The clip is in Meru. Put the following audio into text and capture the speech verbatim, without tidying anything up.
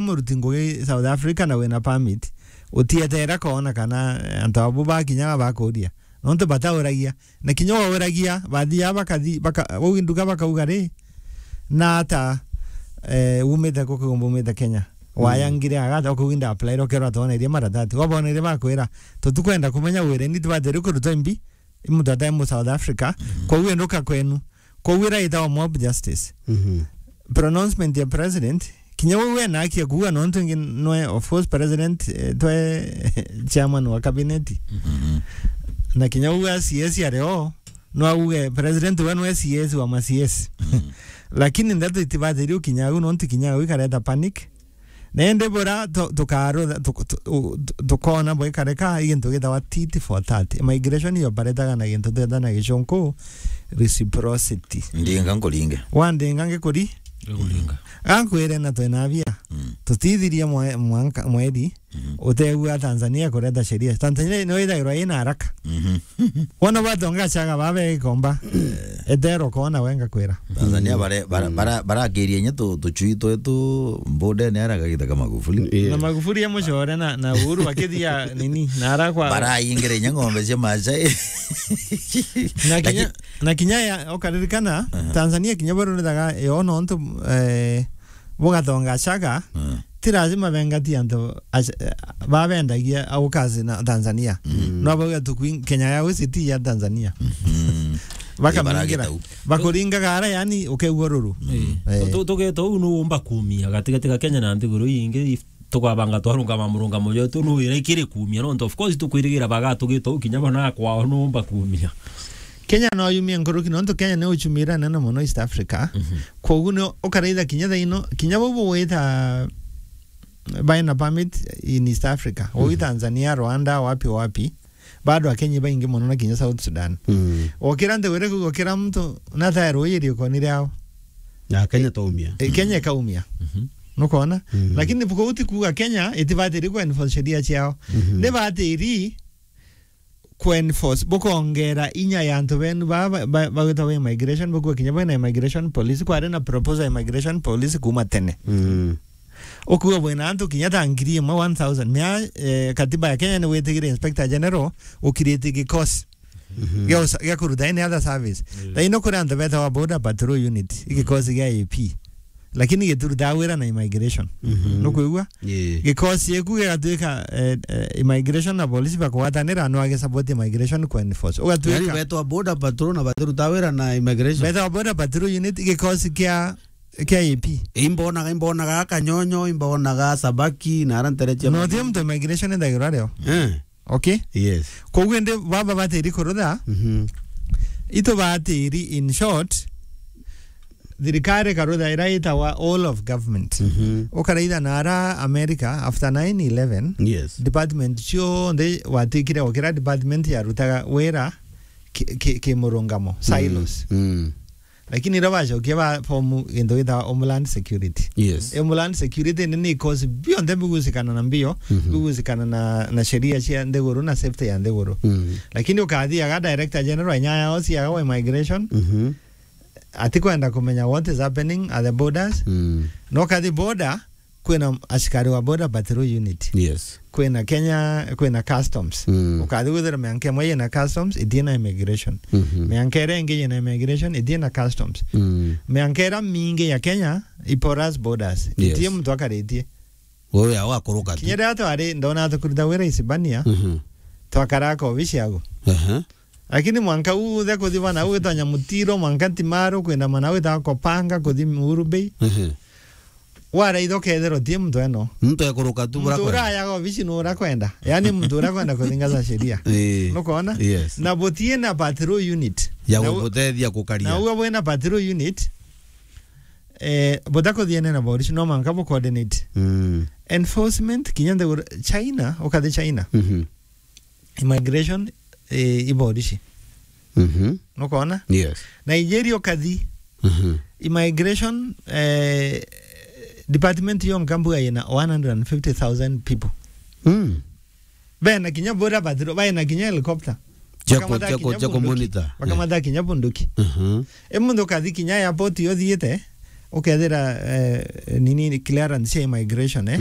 muruti ngugi South Africa na wina permit, utieteera koona kana antu abu bakinyaga bakuria. Nontu batauragia. Na kinya wauragia, bathia bakathi-, baka-, uu nduga bakauga ri, na ata, eh, umite ku kigumba umite Kenya. Mm. Wayangire agata, ukauga inda apply, ukerwa twonerie maratati. Wabonerie bakwira, "Tutikwenda kumenya wire ni tibatiiri kurutwa imbi, i muntu atae mu South Africa." Mm. Kwou enduka kwenu. Kwou ira itawa mob justice. Mhm. Pronouncement ya president, kinya we wena haki ya kuuga nontu ingi nwe, of course, president, eh, twe chairman wa cabinet. Mhm. Na kinya we C S ari o, no auge president we nwe C S wa ma C S. Mhm. Lakini ndeto itibatiiri ukinya au, nontu kinya au ikareta panic. Na indi bura tu-, tukarutha-, tu-, tu-, u-, tu-, tukona bwikarika i gintu gitawa tit for tat. Immigration yo baretaga na gintu tweta na gicunku reciprocity. Ndinga nkuringe. Wandinga ngikuri? Ngikuringa. Gankwire na twina bia. Mm. Tutithirie mwe-, mwanka, mweri. Mhm. Utegua Tanzania kureta sheria. Tanzania no ithagirwa ina haraka. Mhm. Wona batonga chaga babe ikomba. Etero kona wenga kwira. Tanzania bare-, bara-, Mm. bara-, barakiria inya tu-, tuchui twetu mbudene ara kagita ka Magufuli. Yeah. Na Magufuli amucore na, na Uhuru bakithia nini, na ara kwa Baraingire inya ng'ombe cia Maasai. Na kinya, Laki- na kinya ya, ukaririkana, Aha. Tanzania kinya barurithaga yo nontu, eh, bugatonga chaga, Mm. ti lazima bengati antu aca-, babendagia au kazi na Tanzania. Mm. No bauga tu kuin-, Kenya Airways ti ya Tanzania. Mm. Bakamingira. Baragita u. Bakuringaga ara, yani, ukeigua ruru. Eh. Eh. Tu-, tu-, tugeta u nu umba kumia gatigati ga Kenya na nthiguru ingi, tukabanga twarungama murungamo jwetu nu ira ikiri kumia. No, of course, tukwirigira bagatugita u kinya bona kwao nu umba kumia. Kenya no yumie nkuruki, nontu Kenya ni uchumi ira nene mono East Africa. Mhm. Kwogu ni ukaraitha kinya thaino, kinya bau bugwita baina permit in East Africa, Mhm. ui Tanzania, Rwanda, wapi wapi, bado Akenya baingi mono na kinya South Sudan. Mm. Okira nthiguru iria kuuga kira muntu natae ruuji riukoni riao. Na Kenya taumia. E, Kenya ikaumia. Mhm. Nukona? Mm. Lakini buko uti kuuga Kenya itibatiri ku enforce sheria ciao. Mhm. Ni batiri ku enforce, bukongera inya ya antu benu ba, ba, ba, bagwitagwa immigration, bukuga kinya bwina immigration police, kwari na proposal ya immigration police kuma tene. Mm. Ukuga bwina antu kinya ta ngiri imwe, one thousand. Mia, eh, katiba ya Kenya ni witigire Inspector General ukiriti gikosi Mhm. gia usa-, gia kuruta any other service. Mm. Thaino kuri antu betawa Border Patrol Unit, igikosi gia A P. Lakini gitirutaga wira na immigration. Mhm. Nukwigua? Yeah. Gikosi eku gigatwika, eh, eh, immigration na polisi bakugwatanira, no age support immigration ku enforce. Ugatwika Yani betwa Border Patrol na batiruta wira na immigration? Betawa Border Patrol Unit, gikosi kia, kia A P. Imbonaga, imbonaga Kanyonyo, imbonaga Sabaki, na ara nteretia No, ti muntu immigration ithagirwa rio. Eh. Okay? Yes. Koguo indi baba batiri kurutha, Mhm. itu batiri, in short, thirikari ikarutha ira itawa all of government. Mhm. Ukaraitha na ara America after nine eleven, Yes. department cionthe watwikire o kira department yarutaga wira ki, ki, ki murungamo, Mm. silos. Mm. Lakini ira bacokia ba form gintu gitawa Homeland Security. Yes. Homeland Security ni, ni ikosi bionthe bigusikana na mbio, Mhm. bigusikana na, na sheria cia nthiguru na safety ya nthiguru. Mhm. Lakini ukathi aga Director General inya yao ciaga wa immigration, Mhm. atikwenda kumenya what is happening at the borders. Mm. No kathi border, kwina askari wa Border Patrol Unit. Yes. Kwina Kenya, kwina Customs. Mm. Ukathi gwithira mianka imwe yina Customs, itie na immigration. Mhm. Mianka iria ingi yina immigration, itie na Customs. Mm. Mianka iria mingi ya Kenya, i porous borders. Yes. Itie muntu akaritie. Wewe awa kuruka tu. Kinya riria twari, ndona tukuruta wira Isibania, Mhm. twakara ka obici yagu. Aha. Lakini mwanka uthe kuthi bana, ugwitwa Nyamutiro, mwanka Ntimaru, kwina mana wita Kopanga, kuthi Uhuru Bay. Ehe. Waraitha ukethirwa utie muntu eno. Muntu ekuruka tu bura Muntu kwenda. Urayaga obici nura kwenda. Yani muntu ura kwenda kuthingaza sheria. Ii. Nukona? Yes. Na butie na patrol unit. Ya Na u-, gugutethia gukaria. Na uwe bwina patrol unit, eh, butakuthiene na borisi, no mwanka bu coordinate. Mm. Enforcement, kinya nthiguru, China, ukathi China. Mhm. Immigration, eh, iborisi. Mhm. Nukona? Yes. Nigeria ukathi. Mhm. Immigration, eh, department yonka mbuga yina one hundred and fifty thousand people. Mm. Bena kinya border patrol, bena kinya helicopter. Cia ku-, Bakamata cia ku-, kinya cia ku bunduki. Monitor. Bakamata kinya bunduki. Mhm. E muntu ukathi kinya airport yo thiite, Ukethira, eh, nini, clearance ya immigration, eh?